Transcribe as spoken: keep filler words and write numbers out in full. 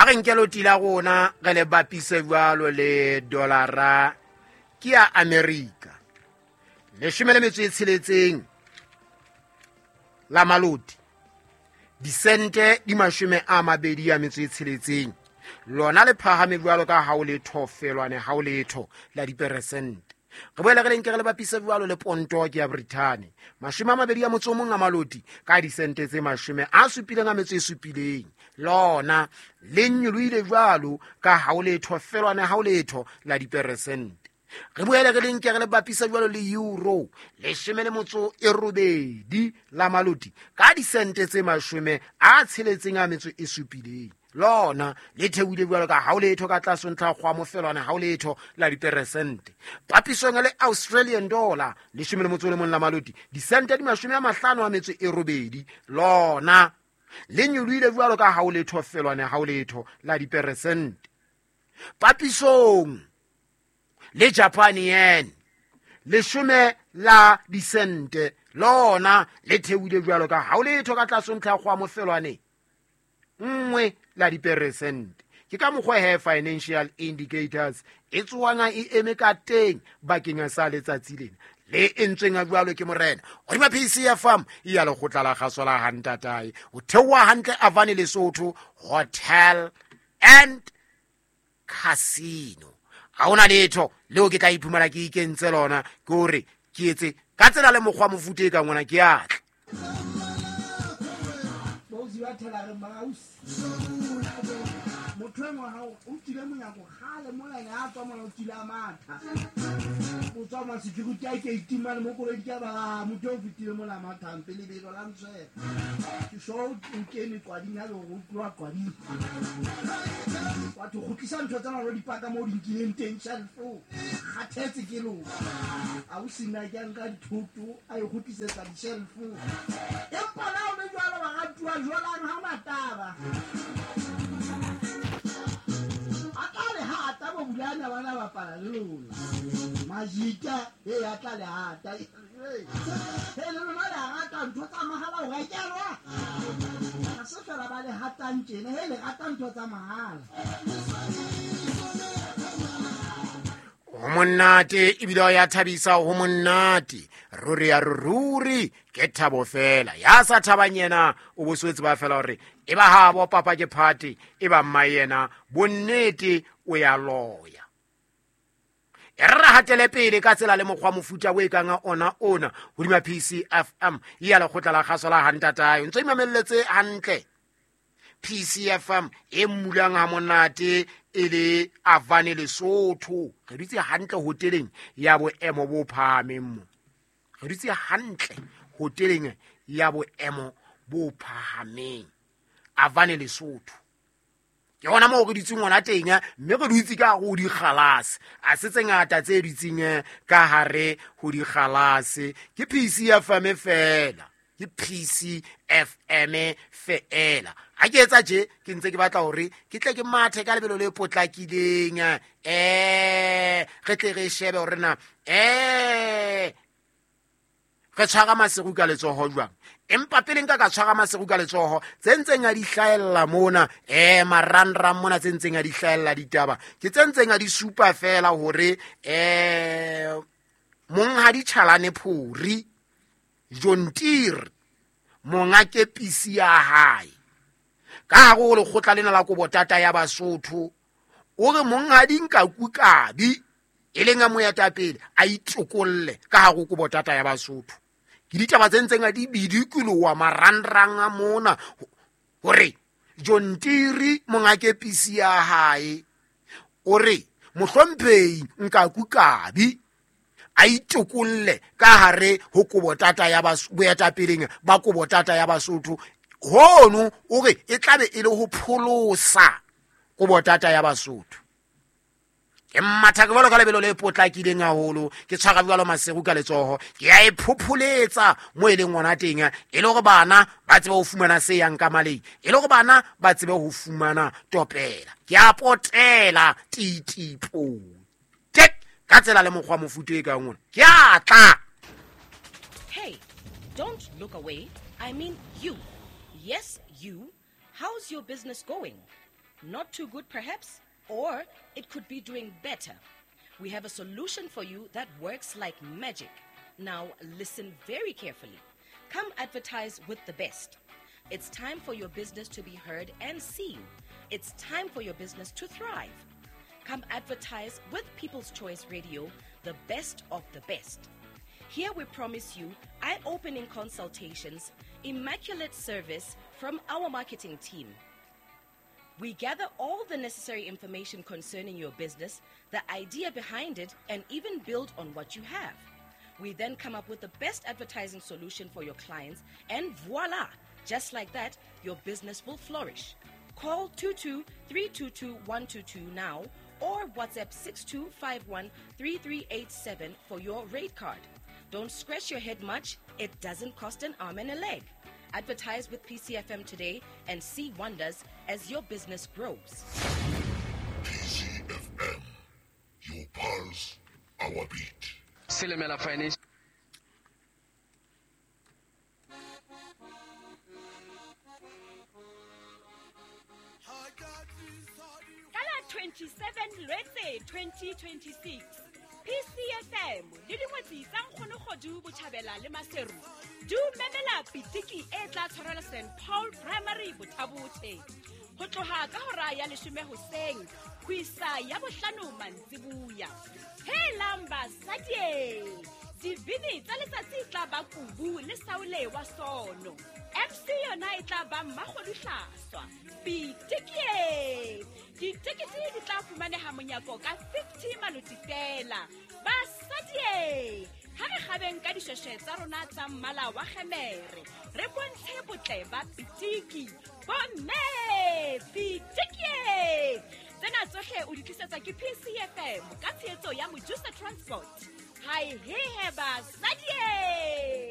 A re nke loti la rona re le bapise jwalo le dolara ke ya Amerika. Leshome le metso e tsheletseng la maloti, disente di mashome a mabedi a metso e tsheletseng, lona le phahame jwalo ka ha o letho felwane ha o letho la diperesente. Re boele re le nke re le bapise jwalo le ponto ke ya Britain, mashome a mabedi a motso o mong a maloti ka disente tse mashome a supileng a metso e supileng, lona le nyolohile jwalo ka ha o letho felwane ha o letho la diperesente. Re boele re le nke re le bapisa jwalo le euro, leshome le motso e robedi la maloti ka disente tse mashome a tsheletseng a metso e supileng, lona le theohile jwalo ka ha o letho ka tlase ntlha kgwa mofelwana ha o letho la diperesente. Papisong le Australian dollar, leshome le motso le mong la maloti, disente di mashome a mahlano a metso e robedi, lona le nyolohile jwalo ka ha o letho felwane ha o letho la diperesente. Papisong le Japan yen, leshome la disente, lona le theohile jwalo ka ha o letho ka tlase ntlha kgwa mofelwane nngwe la diperesente. Ke ka mokgwa he financial indicators e tsohang e eme ka teng bakeng sa letsatsi lena le entsweng a jwalo ke morena hodima P C F M ya lekgotla la kgaso la Hantatae. O theoha hantle Avane Lesotho Hotel and Casino. Ha hona letho leo ke tla iphumana ke ikentse lona, ke hore ke etse ka tsela le mokgwa mofuta e ka ngwana ke atla. Motho e mong ha o tsile monyako kgale mola ene a tswa mona o tsile a matha. O tswa ma security a ke itimane mo koloi ke ba motho o fetile mola matha mpe lebelo la ntshwela. Ke sho o kene qwading ya hore o tloha qwading. Batho kgutlisa ntho tsena lo di paka mo di nkileng teng shelf-o. Kgathetse ke lona. Ausi nna ke a nka dithoto a e kgutlisetsa di-shelf-o. Empa la o le jwalo ba ratuwa jwalang ha ona taba. Bulana bana bapala le lona. Majika e ya tla le hata. He le lona le rata ntho tsa mahala o rekelwa. Ha se fela ba le hatang tjena, he le rata ntho tsa mahala. Ho monate ebile ya thabisa, ho monate ruri ya ruri ke thabo fela. Ya sa thabang yena o boswetse ba fela hore e ba ha bo papa ke party e ba mma yena bonnete o ya loya. E re hatele pele ka tsela le mokgwa mofuta o e kang ona ona hodima P C F M ya lekgotla la kgaso la Hantatae. Ntse imamelletse hantle P C F M e mmulang ha monate e le Avane Lesotho. Re dutse hantle hoteleng ya boemo bo phahameng mo. Re dutse hantle hoteleng ya boemo bo phahameng Avane Lesotho. Ke hona moo re dutseng hona teng, mme re dutse ka hare ho dikgalase. A se tse ngata tse dutseng ka hare ho dikgalase. Ke P C F M fela. Ke P C F M feela. Ha ke etsa tje ke ntse ke batla hore ke tle ke mathe ka lebelo le potlakileng, eh re tle re shebe hore na eh re tshwara maseru ka letsoho jwang. Empa pele nka ka tshwara maseru ka letsoho tse ntseng a di hlahella mona, eh marangrang mona tse ntseng a di hlahella ditaba ke tse ntseng a di supa fela hore eh monghadi Tjhalane Phori Jontir monga kepisi ya hae ka hare ho lekgotla lena la Kobotata ya Basotho o re monghadi Nkaku Kabi e leng a moetapele a itokolle ka hare ho Kobotata ya Basotho. Ke ditaba tse ntseng a di bidikoloha marangrang a mona hore Jontiri monga kepisi ya hae o re mohlomphehi Nkaku Kabi a itokolle ka hare ho Kobotata ya boetapeleng ba Kobotata ya Basotho. Hono o re e tlabe e le ho pholosa Kobotata ya Basotho. Ke matha ke jwalo ka lebelo le potlakileng haholo, ke tshwara jwalo maseru ka letsoho, ke a e phopholetsa mo e leng hona teng, e le hore bana ba tsebe ho fumana se yang ka maleng, e le hore bana ba tsebe ho fumana topela. Ke a potela titipo tek ka tsela le mokgwa mofuta e kang ona. Ke a tla. Hey, don't look away. I mean you. Yes, you. How's your business going? Not too good perhaps, or it could be doing better. We have a solution for you that works like magic. Now listen very carefully. Come advertise with the best. It's time for your business to be heard and seen. It's time for your business to thrive. Come advertise with People's Choice Radio, the best of the best. Here we promise you eye-opening consultations, immaculate service from our marketing team. We gather all the necessary information concerning your business, the idea behind it, and even build on what you have. We then come up with the best advertising solution for your clients, and voila! Just like that, your business will flourish. Call two two three two two one two two now or WhatsApp six two five one three three eight seven for your rate card. Don't scratch your head much. It doesn't cost an arm and a leg. Advertise with P C F M today and see wonders as your business grows. P C F M, your pulse, our beat. Silimela Financial. twenty-seven Lwetse twenty twenty-six P C F M le dingwetsi tsa Nkgono Botjhabela le Maseru di memela pitiki e tla tshwarelwa Saint Paul Primary Bothabothe ho tloha ka hora ya leshome hoseng ho isa ya bohlano mantsibuya. Helang basadi, dibini tsa letsatsi tla ba kubu le saole wa sono. M C yona e tla ba Mmakgodu Hlaswa. Pitiki ditekete di tla fumaneha monyako ka fifty maloti fela. Basadi, ha re kgabeng ka dishweshwe tsa rona tsa mmala wa kgemere, re bontshe botle ba pitiki. Bomme, pitiki! Tsena tsohle o di tlisetswa ke P C F M ka tshehetso ya Mojusa Transport. Hai he he basadi!